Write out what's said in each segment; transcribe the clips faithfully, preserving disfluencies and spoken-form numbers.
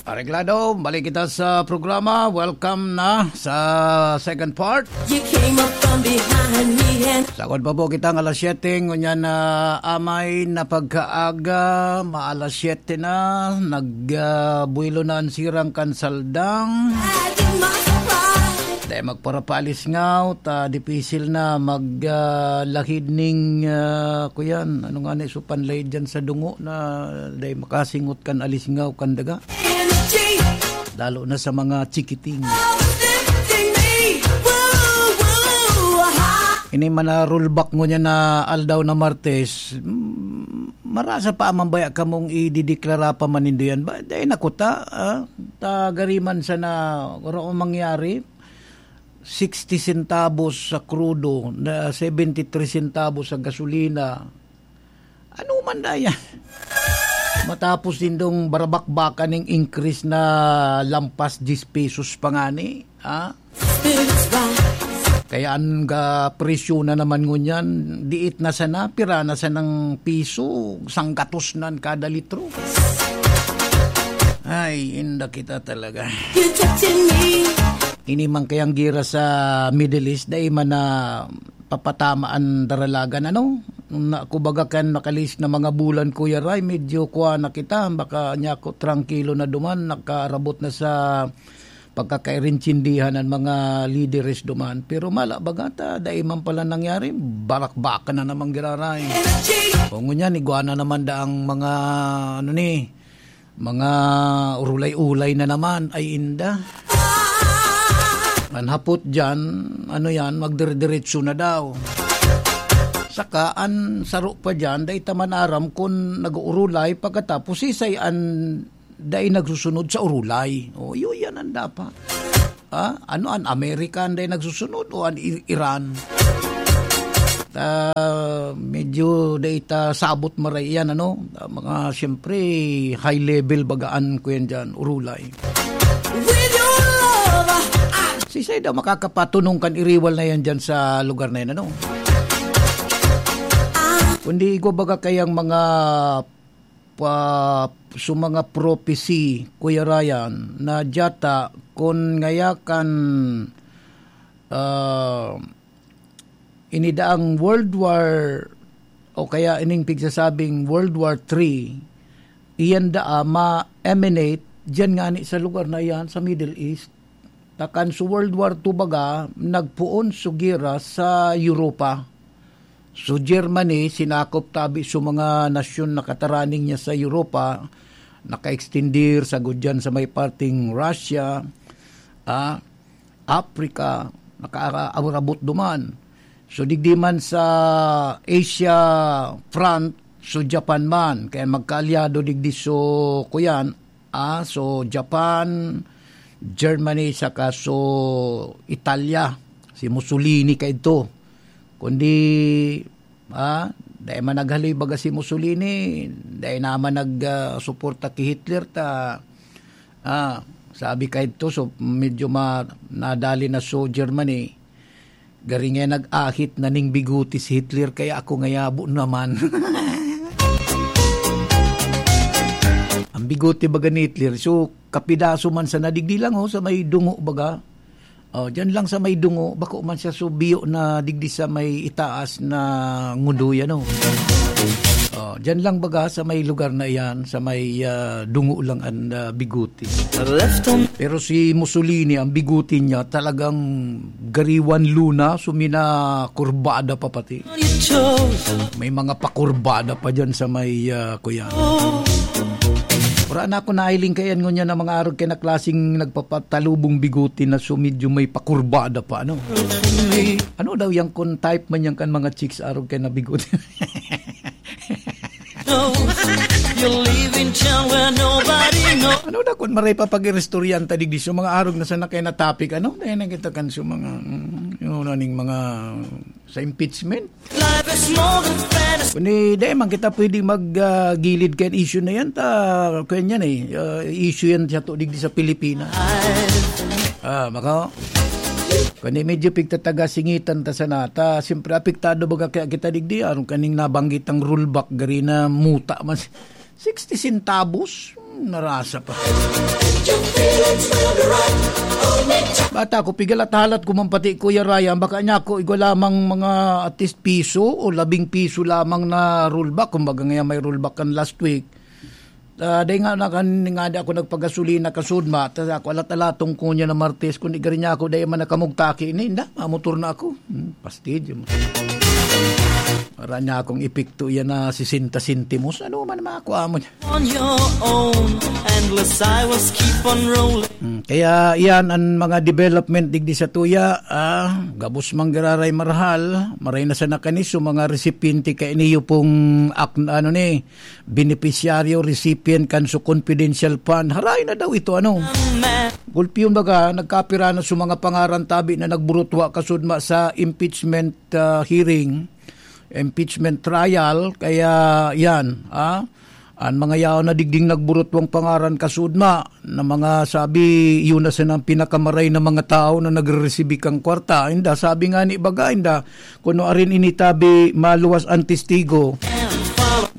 Areglado, balik kita sa programa. Welcome na sa second part. You came up from behind me and Sagkod pa po kita ng alas siyete, ngunyan na amay na pagkaaga, maalas siyete na, nag, ah, buwelo na ang sirang kan Saldang. Dahil magparapaalis nga, ta dipisil na mag, ah, lahid ning, ah, kuyan, ano nga ni, so panlahid dyan sa dungo na dahil makasingot kan alisngaw kan daga. Lalo na sa mga chikiting. Ini man na rollback ngunyan na aldaw na Martes, mm, marasa pa man baya kamong idideklara pa man nindo yan. Ba, dai na kuta, ah? Tagariman sana, kung ano mangyari, sixty centavos sa krudo, na seventy-three centavos sa gasolina. Ano man na yan? Matapos nindong barabakbakan ning increase na lampas diyes pesos pa ngani, ha? Kaya ang ga presyo na naman ngunyan, diit na sana, pira na sanang piso, sanggatos nan kada litro. Ay, inda kita talaga. Ini man kayang gira sa Middle East, dai man na papatama an daralagan, ano? Na, kumbaga kan makalis na mga bulan, Kuya Ray, medyo kuha na kita, baka niya ako trangkilo na duman, nakarabot na sa pagkakairintindihan ng mga lideres duman. Pero mala, baga ta, dai man pala nangyari, barakbakan na namang giraray. O ngunyan, igwa na naman daang mga, ano ni, mga urulay-ulay na naman, ay inda. An hapot dyan, ano yan, magdire-diretso na daw. Saka an saro pa dyan, dai ta man aram kun nag-uurulay, pagkatapos sisay an dai nagsusunod sa urulay. O, yun yan ang dapat. Ah, ano, an Amerika an dai nagsusunod o an I-, Iran? Ah, medyo dai ta sabot maray yan, ano? Ah, mga, siyempre, high level bagaan ko yan dyan, urulay. With your love, I Sisay daw makakapatunong kan iriwal na yan dyan sa lugar na yan, ano? Kundi igwa baga kayang mga pa, so mga prophecy, Kuya Ryan, na diyata kun ngaya kan, ah, inidaang World War o kaya ining pigsasabing World War Three, iyan daa ma-emanate diyan ngani sa lugar na iyan, sa Middle East. Takan sa World War Two baga, nagpoon sa gera sa Europa. So, Germany, sinakop tabi sa mga nasyon na kataraning niya sa Europa, naka-extender sa gudyan sa may parting Russia, ah, Africa, nakaabot duman. So, digdi man sa Asia front, so Japan man, kaya magkaalyado digdi so kuyan, ah, so Japan, Germany, saka so Italia, si Mussolini kaidto. Kundi, ah, dai man naghaloy baga si Mussolini, dai naman nag, ah, suporta ki Hitler ta, ah, sabi kaidto, so medyo ma-, nadali na so Germany. Gari nga nag-ahit na ning bigote si Hitler, kaya ako ngayabo naman. Ang bigote baga ni Hitler, so kapidaso man sa nadigdi lang, oh, sa may dungo baga. Oh, diyan lang sa may dungo, bako man siya so biyo na digdi sa may itaas na ngudoy, ano. Oh, diyan lang baga sa may lugar na iyan, sa may, ah, dungo lang ang, ah, bigote. Left on Pero si Mussolini, ang bigote niya talagang gariwan luna, sumina kurbada pa pati. You chose May mga pakurbada pa dyan sa may, ah, kuya. Wala na ako nailing kayan ngunyan ng mga arog kaya na klaseng nagpapatalubong bigote na so medyo may pakurbada pa, ano? Ano daw yan kung type man yan kan mga chicks arog kaya na bigote? No, you're leaving town where nobody knows. Ano daw kung maray pa pag-iristoryan ta digdi so mga arog na sana kaya na topic, ano? Dahil na kita kan so mga, mm, yung ano ning mga sa impeachment. Life is more than fantasy. Kundi, di man kita pwede mag, ah, gilid kan issue na yan. Ta, kaya yan eh. Ah, issue yan siya to, digdi sa Pilipinas. Ah, maka, kundi medyo pigtataga singitan ta sana. Ta, siyempre, apektado baga kaya kita digdi. Aron kaning nabanggit ang rollback, gari na muta man. Sixty centavos? Hmm, narasa pa. Bata ko, pigalat-halat ko man pati, Kuya Ryan, baka niya ako igwa lamang mga at least piso o labing piso lamang na rollback. Kumbaga nga may rollback kan last week. Ah, dahil nga na kan-, nga di ako nagpagasolina kasudma, tas ako alat-alatong ko niya na Martes, kung di ka rin niya ako, dahil man nakamugtaki ini, inda, mamotor na ako. Hmm, pastidyo mo. Para niya akong epekto yan na sesenta sentimos. Ano man makuha mo niya? On your own, endless highways keep on rolling. Hmm, kaya yan ang mga development digdi sa tuya. Ah, gabos mang giraray marahal, maray na sa nakanis, so mga recipiente ka iniyo pong ak-, ano ni, beneficiaryo, recipient kan so confidential fund. Haray na daw ito, ano? Gulpiyon baga, nagkapira na sa mga pangaran tabi na nagburutwa kasudma sa impeachment, ah, hearing, impeachment trial. Kaya yan, ah, ang mga yaon na digding nagburutwang pangaran kasudma na mga sabi, yun na sanang pinakamaray na mga tao na nagre-resibi kang kwarta. Inda, sabi nga ni baga, inda, kuno arin ini tabi maluwas ang testigo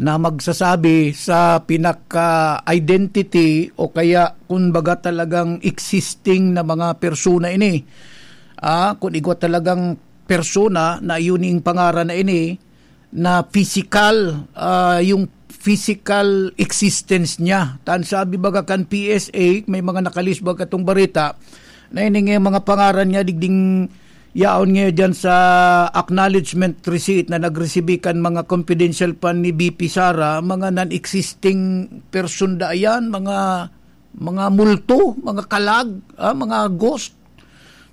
na magsasabi sa pinaka-identity o kaya kun baga talagang existing na mga persona ini. Ah, kung igwa talagang persona na iyon yung pangaran na ini, na physical, ah, yung physical existence niya. Tan sabi baga kan P S A, may mga nakalis baga tong bareta, na ini nga mga pangaran niya, digding yaon ngayon dyan sa acknowledgement receipt na nagresibi kan mga confidential fund ni V P Sara, mga non-existing person da yan, mga, mga multo, mga kalag, ah, mga ghost.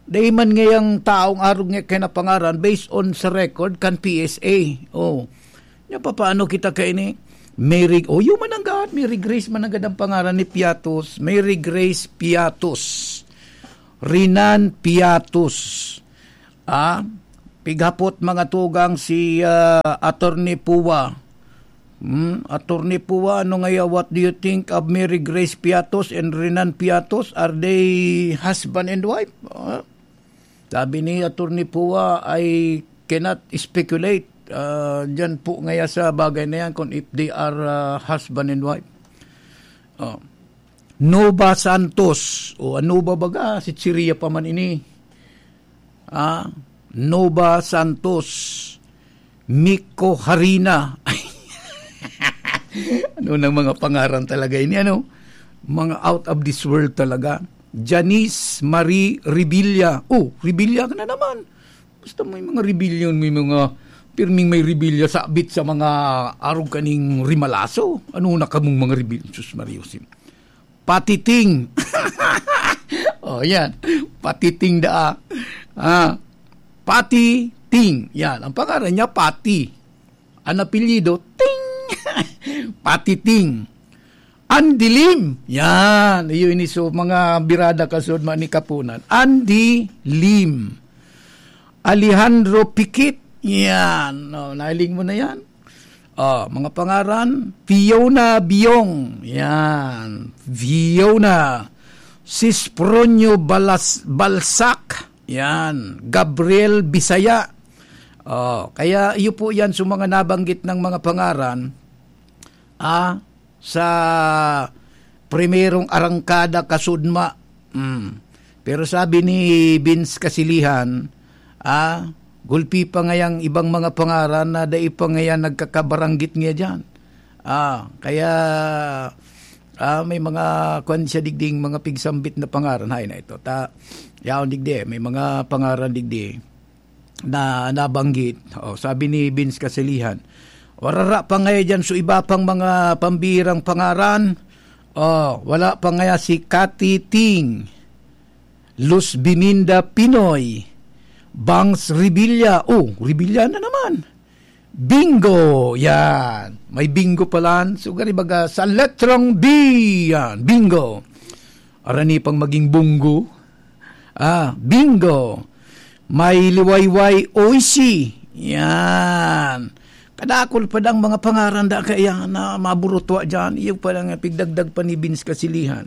Dai man ngayang taong arog nga kinapangaran based on sa record kan P S A. Oh. Nya, papaano kita kaini? Merry, oh, yun man ang gaat. Merry Grace man ang gadang pangaran ni Piatos. Merry Grace Piatos. Rinan Piatos. Ah, pighapot mga tugang si, ah, Attorney Pua. Hmm, Attorney Pua, ano ngaya, what do you think of Mary Grace Piatos and Renan Piatos? Are they husband and wife? Ah, sabi ni Attorney Pua, "I cannot speculate, ah, dyan po ngaya sa bagay na yan kung if they are, ah, husband and wife." Oh. Nova Santos. O, ano ba baga? Si Chiria pa man ini. Ah, Nova Santos. Miko Harina. Ano nang mga pangaran talaga ini, ano? Mga out of this world talaga. Janice Marie Revilla. Oh, Revilla ka na naman. Basta may mga rebellion, may mga pirming may rebellion sabit sa mga arog kaning rimalaso. Ano na kamong mga rebellion? Sus, Maria Jose. Patiting. Oh, yan. Patiting daa. Ah, Patiting. Yan. Ang pangaran niya, Pati. Ang apelyido, Ting. Patiting. Andy Lim. Yan. Iyo ini so mga birada kasud man ni Kapunan. Andy Lim. Alejandro Pikit. Yan. Oh, nahiling mo na yan. Oh, mga pangaran, Fiona Biong. Yan. Fiona. Sispronio Balas-, Balsac. Yan. Gabriel Bisaya. Oh, kaya iyo po yan sa mga nabanggit ng mga pangaran, ah, sa primerong arangkada kasudma. Mm. Pero sabi ni Vince Kasilihan, ah, gulpi pa ngayang ibang mga pangaran na dai pa ngayan nagkakabaranggit niya dyan. Ah, kaya, ah, may mga kwan siya digding, mga pigsambit na pangaran. Hay na ito. Ta, yaon digdi, may mga pangaran digdi na nabanggit. Oh, sabi ni Vince Kasilihan, "Warara pa ngaya dyan so iba pang mga pambihirang pangaran. Oh, wala pa ngaya si Cathy Ting, Luz Biminda Pinoy, Bangs Revilla." Oh, Revilla na naman. Bingo! Yan. May bingo pala. So, gari baga sa letrang B. Yan. Bingo. Arani pang maging bunggo. Ah, bingo. May liwayway oishi. Yan. Kadakol pa dang mga pangaran da kaya na maburutwa dyan. Iyo pa lang pigdagdag pa ni Vince Kasilihan.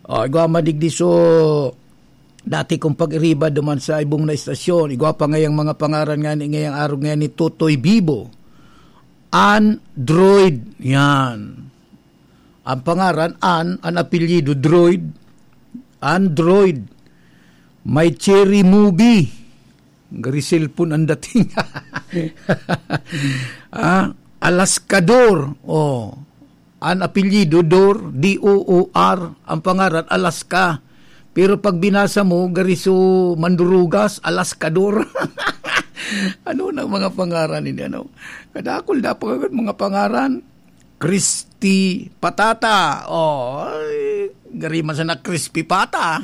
Oh, igwa madigdi so dati kong pag-iriba duman sa ibong na istasyon. Igwa pa ngayang mga pangaran nga ni, ngayang araw nga ni Totoy Bibo. Android. Yan. Ang pangaran, Ann, ang apelyido, Droid. Android. May Cherry Movie. Gari cellphone ang dating. Ah, Alaskador. Oh. Ang apelyido, Dor, D O O R. Ang pangaran, Alaska. Pero pag binasa mo, gari so mandurugas, Alaskador. Ano na mga pangaran ini, ano? Kadakol na pa mga pangaran. Crispy patata. Oh, ay, gari man sana crispy pata.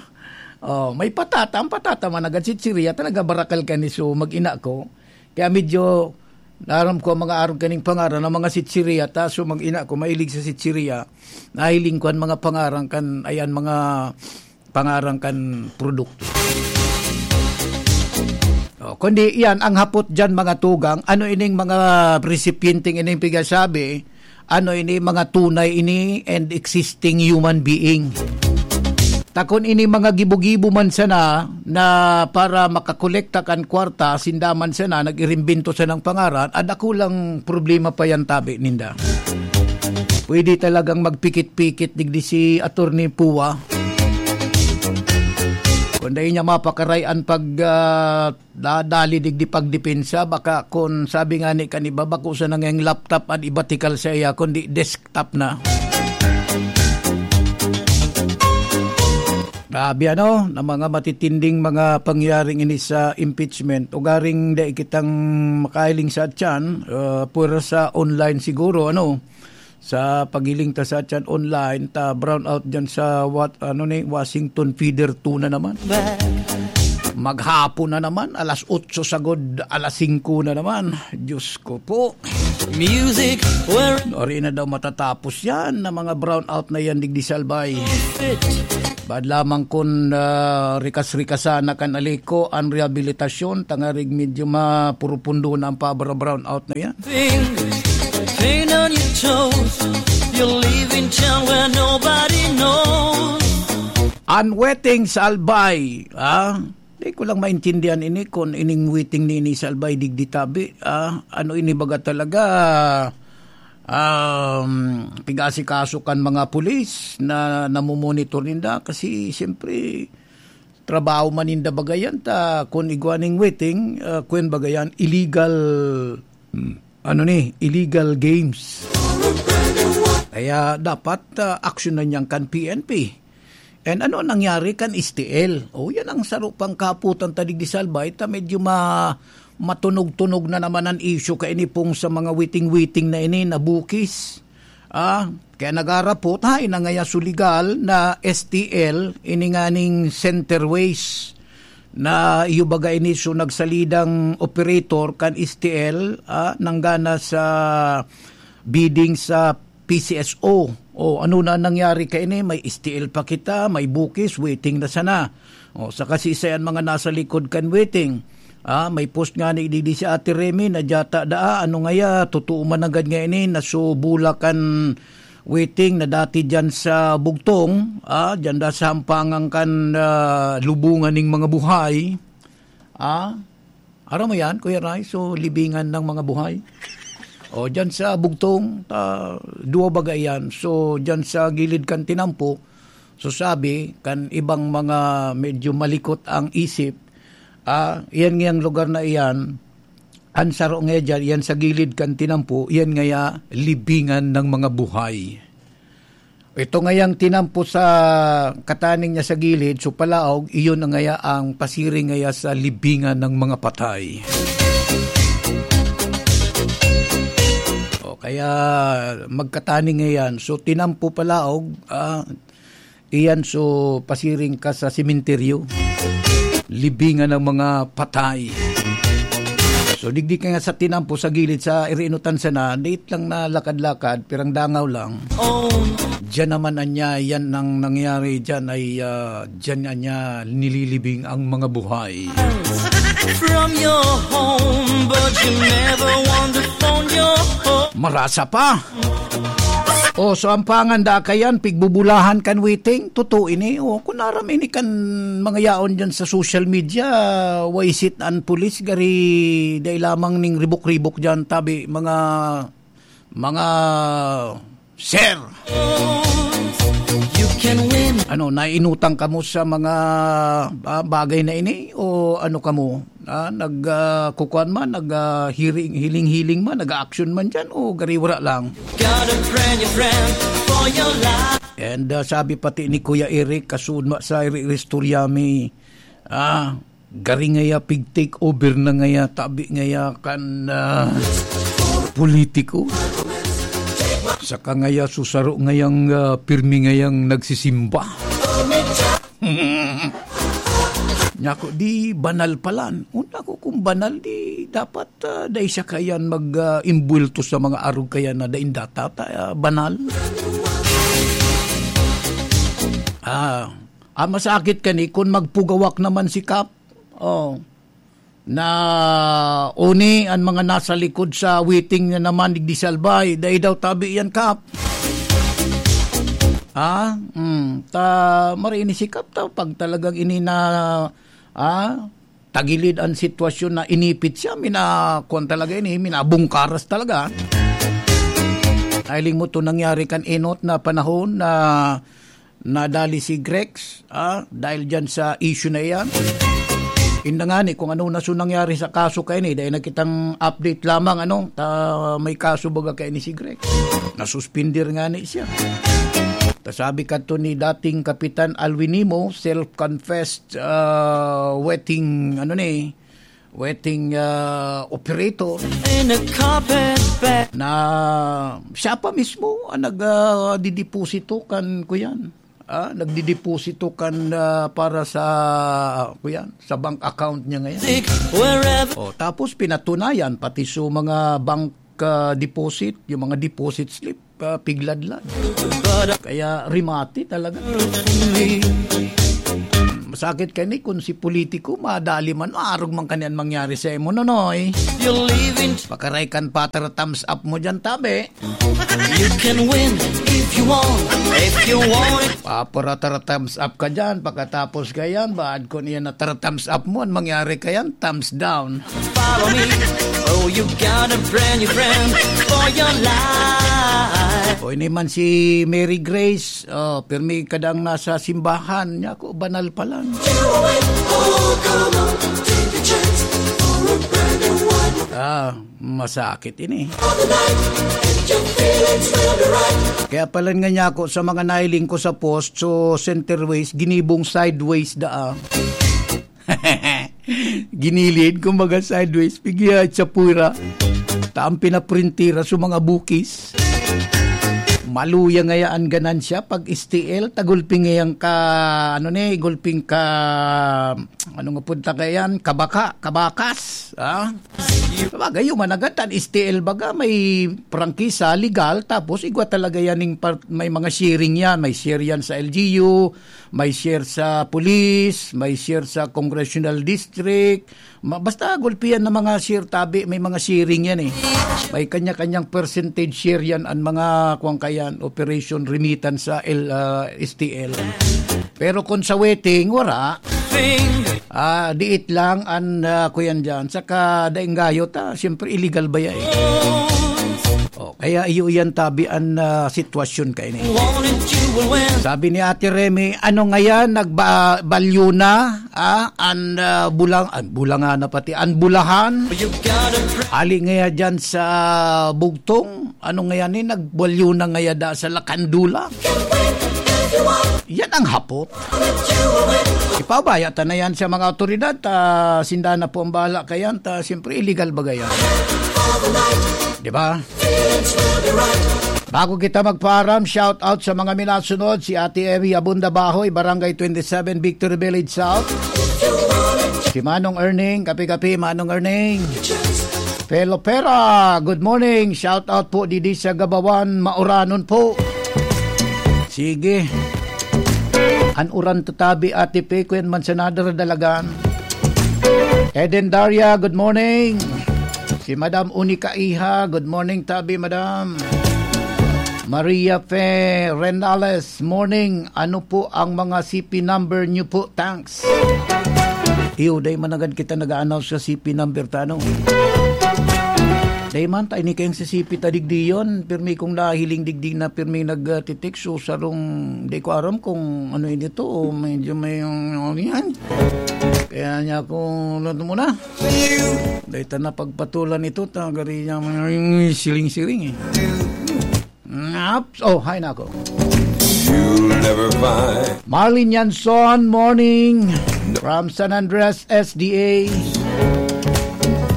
Oh, may patata. Ang patata man, nagad chichirya, talaga barakal ka ni so mag-ina ko. Kaya medyo, naram ko ang mga arog kaning pangaran ng mga chichirya, ta so mag-ina ko, mahilig sa chichirya. Nahiling ko ang mga pangaran kan, ayan, mga pangaran kan produkto. Oh, kundi iyan ang hapot diyan, mga tugang, ano ining mga resipienteng ining pigasabi, ano ini, mga tunay ini and existing human being. Takon ini mga gibo-gibo man sana na para makakolekta kan kwarta, sinda man sana nag-irimbento sanang pangaran, ada kulang problema pa yan tabi ninda. Pwede talagang magpikit-pikit digdi si Attorney Pua. Kung dahil niya mapakaray an pag, ah, dadali digdi pagdepensa, baka kun sabi nga ni kan iba, bako sana ngayang laptop an ibatikal sa iya, kundi desktop na. Grabe, ano, na mga matitinding mga pangyaring ini sa impeachment. Ugaring dai kitang makahiling sa tiyan, ah, pwera sa online siguro, ano, sa paghiling ta sa tiyan online, ta brown out dyan sa what, ano ni, Washington Feeder two na naman. Maghapon na naman, alas otso sagod, alas singko na naman. Diyos ko po. Music, where Ori na daw matatapos yan na mga brown out na yan, digdi sa Albay. Fit. Bad lamang kun, ah, rikas-rikasan na kan aliko an rehabilitasyon, tangarig medyo mapurupundo na ang pabra-brown out na yan. Thing, paint on your toes. You're leaving town where nobody knows. An waiting sa Albay, ah, di ko lang maintindihan ini kun ining waiting ni ini sa Albay digdi tabi, ah, ano ini baga talaga, um, pig-asikaso kan mga pulis na namomonitor ninda kasi siyempre trabaho man ninda baga yan ta kun igwa ning waiting, ah, kwen baga yan, illegal, ano ni, illegal games. Kaya dapat, ah, aksyon na niyan kan P N P. And ano nangyari kan S T L? O, yan ang saro pang kaputan ta digdi sa Albay, ta medyo ma-, matunog-tunog na naman ang issue kaini pong sa mga waiting-waiting na ini na bukis. Ah, kaya nagarapot, hain na ngaya so legal na S T L, ini nganing Centerways, na iyo baga ini so nagsalidang operator kan S T L, ah, nanggana sa bidding sa P C S O. O, ano na nangyari kaini? May S T L pa kita, may bukis, waiting na sana. O, sa kasisay an mga nasa likod kan waiting. Ah, may post nga ni digdi si Ate Remy na dyata daa, ano ngaya, totoo man nanggad nga ini, nasubula kan waiting na dati dyan sa Bugtong, ah, dyan da sa hampangan kan, ah, lubungan ning mga buhay. Ah, aram mo yan, Kuya Ray? So, libingan ng mga buhay. O, dyan sa Bugtong, ah, duwa baga yan. So, dyan sa gilid kan tinampo, so sabi, kan ibang mga medyo malikot ang isip, ah, iyan ngayang lugar na iyan, an saro ngaya dyan, iyan sa gilid kan tinampo, iyan ngaya libingan ng mga buhay. Ito ngayang tinampo sa kataning niya sa gilid, so palaog, iyon na ngaya ang pasiring ngaya sa libingan ng mga patay. O, kaya magkataning ngayan. So, tinampo palaog, ah, iyan, so pasiring ka sa sementeryo. Libingan ng mga patay. So, digdi ka nga sa tinampo sa gilid sa irinutan sana, date lang na lakad-lakad, pirang dangaw lang. Diyan naman anya, yan ang nangyari diyan ay, ah, diyan anya nililibing ang mga buhay. From your home, but you never want to phone your home. Marasa pa. O, so ang panganda kayan, pigbubulahan kan waiting, totoo ini. O, kun aram ini kan mga yaon diyan sa social media, waisit an pulis, gari dai lamang ning ribok-ribok diyan, tabi, mga, mga Sir! You can win. Ano, naiinutang kamo sa mga, ah, bagay na ini? O ano kamo? Ah, nag, ah, kukuan man, nag, ah, hiring, hiling-hiling man, nag-a-action man dyan, o gariwara lang? Got a brand new friend for your life. And, ah, sabi pati ni Kuya Eric, kasudma sa iri-, istorya mi, ah, gari ngaya pig-take over na ngaya, tabi ngaya kan, ah, politiko. Saka ngaya susaro ngayang, ah, pirmi ngayang nagsisimba. Nyako, di banal palan. Una ko kung banal, di dapat, ah, dai siya kayan mag, ah, imbwelto sa mga arog kaya na daing data, ta, ah, banal. Ah, ah, masakit kani kun magpugawak naman si Kap. Oh. Na uni an mga nasa likod sa waiting na naman digdi sa albay, dai daw tabi yan, Kap. Ha? Hmm. Ta, marini si Kap ta, pag talagang ini na, ah, tagilid an sitwasyon na inipit siya, mina-, kuwan talaga ini, minabungkaras talaga. Nailing mo to nangyari kan enot na panahon na nadali si Grex, ah, dahil dyan sa issue na iyan. Inda ngani kung ano na so nangyari sa kaso kaini, dahil nakitang update lamang, ano, ta, may kaso baga kaini si Grex. Nasuspindir ngani siya. Ta sabi kadto ni dating Kapitan Alwin Nimo, self-confessed, ah, wetting, ano ni, wetting, ah, operator In a carpet bag. Na siya pa mismo ang nag, ah, dideposito kan, kuyan. Ah, nagdideposito kan, ah, para sa, kuyan, sa bank account niya ngayon. Wherever. Oh, tapos pinatunayan pati sa mga bank, ah, deposit, yung mga deposit slip, ah, pigladlad. Kaya rimati talaga. Masakit kani kun si politiko, madali man, maarog man kani an mangyari sa imo, Nonoy. You're leaving. Pakaray kan patara thumbs up mo dyan, tabi. You can win if you want, if you want it. Papara thumbs up ka dyan, pagkatapos ka yan, baad kun iyan na tara thumbs up mo, an mangyari ka yan, thumbs down. Follow me. Oh, you got a brand new friend for your life. O, ini man si Mary Grace, oh, pirmi kadang nasa simbahan, nyako, banal pa lang. You win. Oh, come on, take a chance for a brand new one. Ah, masakit ini. For the night, and your feelings will be right. Kaya pala nga nyako sa mga nailing ko sa post, so center ways, ginibong sideways daa. Ginilid, kumbaga sideways, pigya sa pura. Taang pinaprintira sa mga bukis. Maluya ngaya an ganansya pag S T L, tagulping ngayang ka, ano ni, gulping ka, ano nga punta kayan, kabaka, kabakas, ah? Sabagay, yung managat, an S T L baga, may prangkisa, legal, tapos igwa talaga yan, yung par-, may mga sharing yan, may share yan sa L G U, may share sa police, may share sa congressional district. Ma-, basta gulpihan na mga share tabi, may mga sharing yan eh. May kanya-kanyang percentage share yan ang mga kuwang kayan, operation remittance sa L, ah, S T L. Pero kung sa wetting, wala. Ah, diit lang an, ah, kuyan dyan. Saka daing gayo ta, siyempre illegal ba yan eh? Oh, kaya iyo yan tabi an, ah, sitwasyon kaini. Sabi ni Ate Remy, "Ano ngayan, nagba-, balyo na, ah, an, ah, bulang-, an bulangana pati, an bulahan? Hali ngaya dyan sa bugtong? Ano ngayan eh, nagbalyo na ngaya da sa Lakandula?" Yan ang hapot. Ipabaya ta na yan sa mga awtoridad, ta sinda na po ang bahala kayan, ta siyempre illegal ba yan? Di ba? Bago kita magpaaram, shout out sa mga minasunod, si Ate Emmy Abunda Bahoy, Barangay twenty-seven, Victory Village South. Si Manong Erning, kape-kape, Manong Erning. Pelo Pera, good morning. Shout out po didi sa Gabawan, Mauranon po. Sige. An uran tatabi, Ate Pe, kuyan man sa nadara dalagan. Eden Daria, good morning. Si Madam Unica Iha, good morning, tabi, Madam. Maria Fe Renales, morning. Ano po ang mga C P number niyo po? Thanks. Iyo, dai managad kita nag-a-announce sa C P number ta, ano? Dai man, ta ini kayong sisipit ta digdi yon. Pirmi kong nahiling digdi na pirmi nag, ah, titikso, sarong, di ko aram kung ano ini to, o medyo may, ano yan. Kaya niya ako, ano muna. Dai ta na pagpatulan ito, ta gari niya may siling-siling eh. Naps. Oh, hi na ako. You'll never find Marlene Yanson, morning. From San Andres, S D A.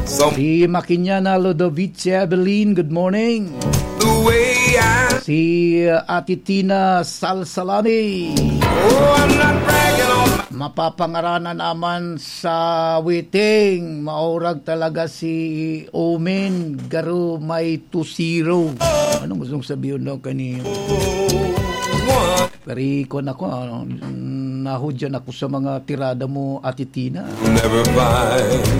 Some Si Makinyana Ludovice Evelyn, good morning. The way I Si uh, Ate Tina Salsalani. Oh, I'm not bragging on my Mapapangaranan naman sa Witing. Maurag talaga si Omen, garo may two zero. Anong gustong sabihin daw kani? Pero ikon ako, ano, nahudyan ako sa mga tirada mo, Ate Tina. Never find.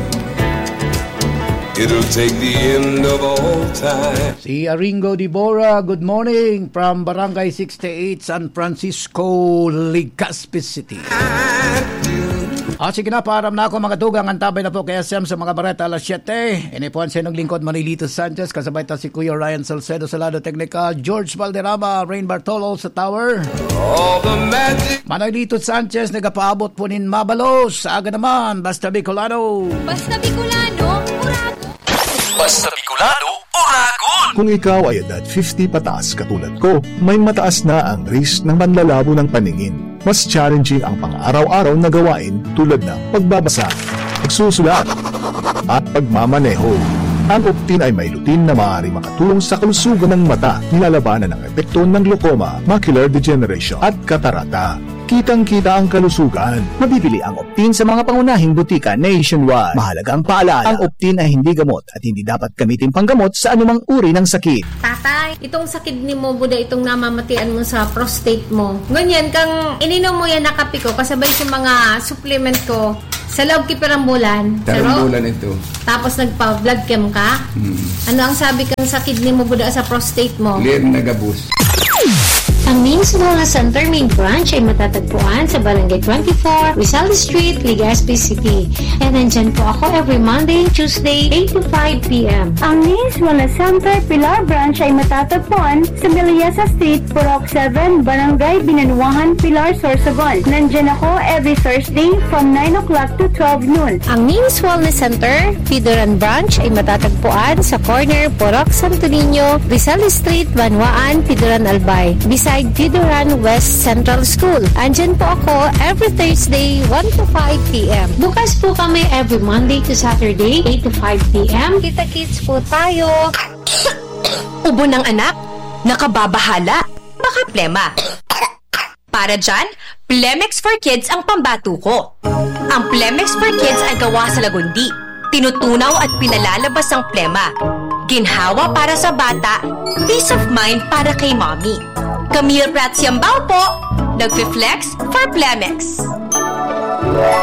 It'll take the end of all time. Si Aringo Dibora, good morning from Barangay sixty-eight, San Francisco, Legazpi City. Ah, sige na, paaram na ako, mga tugang. Antabay na po kay S M sa mga bareta alas siyete. Ini po ang sinong lingkod, Manilito Sanchez, kasabay ta si Kuya Ryan Salcedo sa lado teknikal, George Valderrama, Rain Bartolo sa tower. All the magic. Manilito Sanchez, nagapaabot po nin mabalos. Aga naman, basta Bicolano. Basta Bicolano, Uragon. Basta Bicolano, Uragon. Kung ikaw ay edad fifty pataas katulad ko, may mataas na ang risk ng panlalabo ng paningin. Mas challenging ang pang-araw-araw na gawain tulad ng pagbabasa, pagsusulat, at pagmamaneho. Ang Optin ay may lutein na maaari makatulong sa kalusugan ng mata, nilalabanan ang epekto ng glaucoma, macular degeneration, at katarata. Kitang-kita ang kalusugan. Mabibili ang Optin sa mga pangunahing butika nationwide. Mahalagang paalala, ang Optin ay hindi gamot at hindi dapat gamitin panggamot sa anumang uri ng sakit. Tatay, itong sakit ni mo, buda itong namamatian mo sa prostate mo. Ngunyan, kang ininom mo yan na kape ko, kasabay sa mga supplement ko, sa loob ki pirang bulan. Sa Tarong loob? Bulan ito. Tapos nagpa-blood chem ka? Hmm. Ano ang sabi kang sa kidney mo, buda sa prostate mo? Clear na gabos. Ang Names Wellness Center main branch ay matatagpuan sa Barangay twenty-four, Rizal Street, Legazpi City. And nandyan po ako every Monday and Tuesday, eight to five p.m. Ang Names Wellness Center Pilar Branch ay matatagpuan sa Miliasa Street, Purok seven, Barangay Binanuahan, Pilar, Sorsogon. Nandyan ako every Thursday from nine o'clock to twelve noon. Ang Names Wellness Center, Pidoran Branch ay matatagpuan sa corner Purok Santo Niño, Rizal Street, Banwaan, Pidoran, Albay, beside Pidoran West Central School. Andyan po ako every Thursday, one to five p.m. Bukas po kami every Monday to Saturday, eight to five p.m. Kita-kits po tayo. Ubo ng anak, nakababahala, baka plema. Para dyan, Plemex for Kids ang pambato ko. Ang Plemex for Kids ay gawa sa lagundi. Tinutunaw at pinalalabas ang plema. Ginhawa para sa bata, peace of mind para kay mommy. Camille Prats Yambao po, nagfi-flex for Plemex.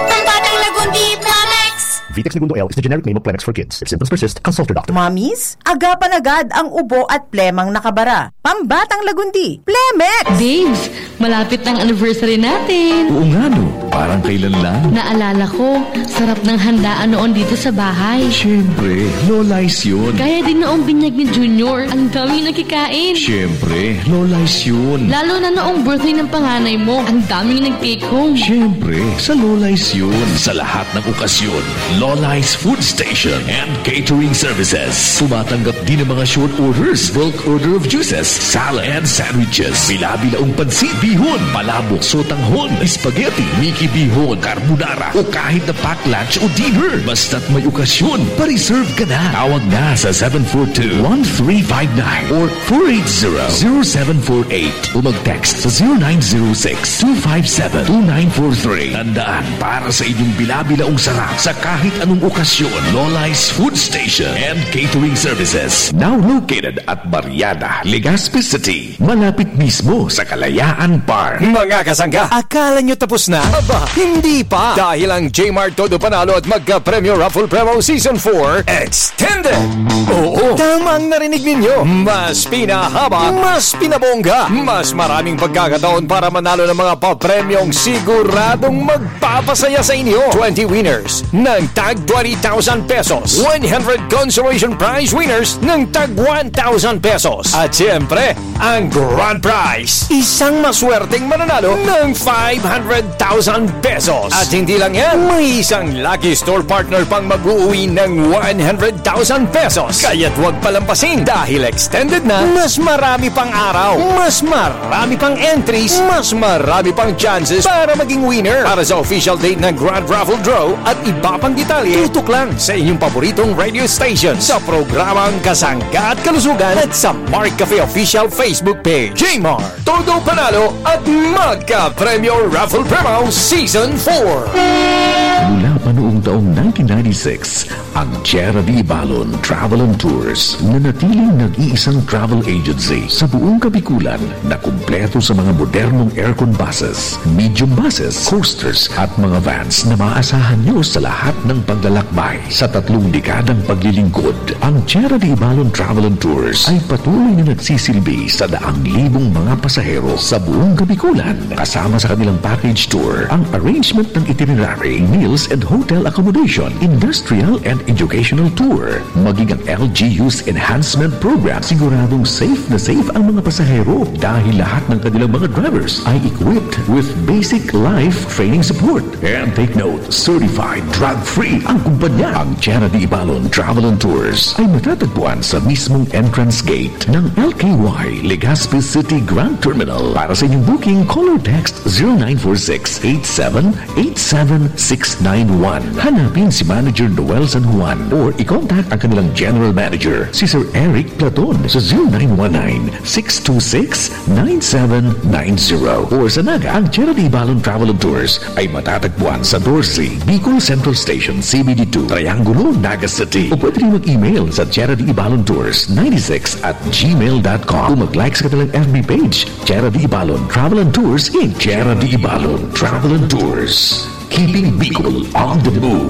Pambatang lagundi, Plemex! Vitex Negundo L is the generic name of Plemex for Kids. If symptoms persist, consult your doctor. Mommies, agapan agad ang ubo at plemang nakabara. Pambatang lagundi, Plemex! Babes, malapit na ang anniversary natin. Oo nga, no? Parang kailan lang. Naalala ko, sarap ng handaan noon dito sa bahay. Siyempre, Lola's yun. Kaya din noong binyag ni Junior, ang daming nakikain. Siyempre, Lola's yun. Lalo na noong birthday ng panganay mo, ang daming nag-take home. Siyempre, sa Lola's yun. Sa lahat ng okasyon, Lola's Food Station and Catering Services. Tumatanggap din ng mga short orders, bulk order of juices, salad, and sandwiches. Bila-bilaong pansit, bihon, palabok, sotanghon, spaghetti, miki bihon, carbonara, o kahit na pack lunch o dinner. Basta't may okasyon, pa-reserve ka na. Tawag na sa seven four two, one three five nine or four eight zero, zero seven four eight o mag-text sa zero nine zero six, two five seven, two nine four three. Tandaan, para sa inyong bila-bilaong sarap sa kahit anong okasyon, Lola's Food Station and Catering Services. Now located at Barriada, Legazpi City. Malapit mismo sa Kalayaan Park. Mga kasangga, akala nyo tapos na? Aba, Hindi pa! Dahil ang J-Mart Todo Panalo at Magka-Premyo Raffle Promo Season four Extended! Oo, tama ang narinig ninyo! Mas pinahaba, mas pinabongga, mas maraming pagkakataon para manalo ng mga papremyong siguradong magpapasaya sa inyo. Twenty winners ng tag twenty thousand pesos. One hundred consolation prize winners ng tag one thousand pesos. At siyempre, ang grand prize, isang maswerteng mananalo ng five hundred thousand pesos. At hindi lang yan, may isang lucky store partner pang mag-uwi ng one hundred thousand pesos. Kaya't huwag palampasin dahil extended na, mas marami pang araw, mas marami pang entries, mas marami pang chances para maging winner. Para sa official date ng Grand Raffle Draw at iba pang detalye, tutok lang sa inyong paboritong radio station sa programang Kasangga at Kalusugan at sa Mark Cafe Official Facebook Page. J-Mart, Todo Panalo at Magka Premyo Raffle Promo Season four. Mula pa noong taong nineteen ninety-six, ang Tierra de Ibalon Travel and Tours nanatiling nag-iisang travel agency sa buong Kabikulan na kumpleto sa mga modernong aircon buses, medium buses, coasters at mga vans na maaasahan nyo sa lahat ng paglalakbay. Sa tatlong dekadang paglilingkod, ang Tierra de Ibalon Travel and Tours ay patuloy na nagsisilbi sa daang libong mga pasahero sa buong Kabikulan. Kasama sa kanilang package tour ang arrangement ng itinerary, meals and hotel accommodation, industrial and educational tour, maging ang L G U's enhancement program, siguradong safe na safe ang mga pasahero dahil lahat ng kanilang mga drivers ay equipped with basic life training support. And take note, certified drug-free ang kumpanya. Ang Tierra de Ibalon Travel and Tours ay matatagpuan sa mismong entrance gate ng L K Y Legazpi City Grand Terminal. Para sa inyong booking, call or text zero nine four six eight seven eight seven six nine one. Hanapin si Manager Noel San Juan or i-contact ang kanilang General Manager, si Sir Eric Platon, sa zero nine one nine six two six nine seven nine zero. Or sa Naga, ang Tierra de Ibalon Travel and Tours ay matatagpuan sa Dorsey, Bicol Central Station, C B D two, Triangulo, Naga City. O pwede rin mag-email sa Tierra de Ibalon Tours ninety-six at gmail dot com o mag-like sa kanilang F B page, Tierra de Ibalon Travel and Tours, Inc. Tierra de Ibalon Travel and Tours. Keeping Bicol on the move.